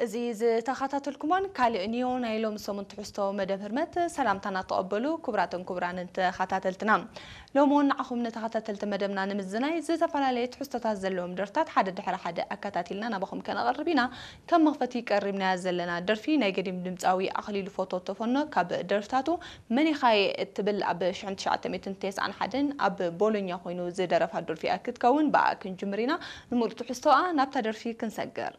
እዚ ዝተኸታተልኩሞን ካልእ ኒዮ ናይ ሎም ሰሙን ትሕዝቶ መደብ ህርመት ሰላምታና ተቐበሉ። ክቡራትን ክቡራንን ተኸታተልትና፣ ሎም እውን ንዓኹም ንተኸታተልቲ መደብና ንምዝናይ ዝተፈላለየ ትሕዝቶታት ዘለዎም ደርፍታት ሓደ ድሕሪ ሓደ ኣከታቲልና ናባኹም ከነቐርብ ኢና። ከም መኽፈቲ ቀሪብናያ ዘለና ደርፊ ናይ ገዲም ድምፃዊ ኣኽሊሉ ፎቶ ተፈኖ ካብ ደርፍታቱ መኒኻየ እትብል ኣብ ሽሕን ትሽዓተ ሚእትን ተስዓን ሓደን ኣብ ቦሎኛ ኮይኑ ዝደረፋ ደርፊ እያ ክትከውን። ብኣ ክንጅምር ኢና። ንምሉእ ትሕዝቶኣ ናብታ ደርፊ ክንሰግር።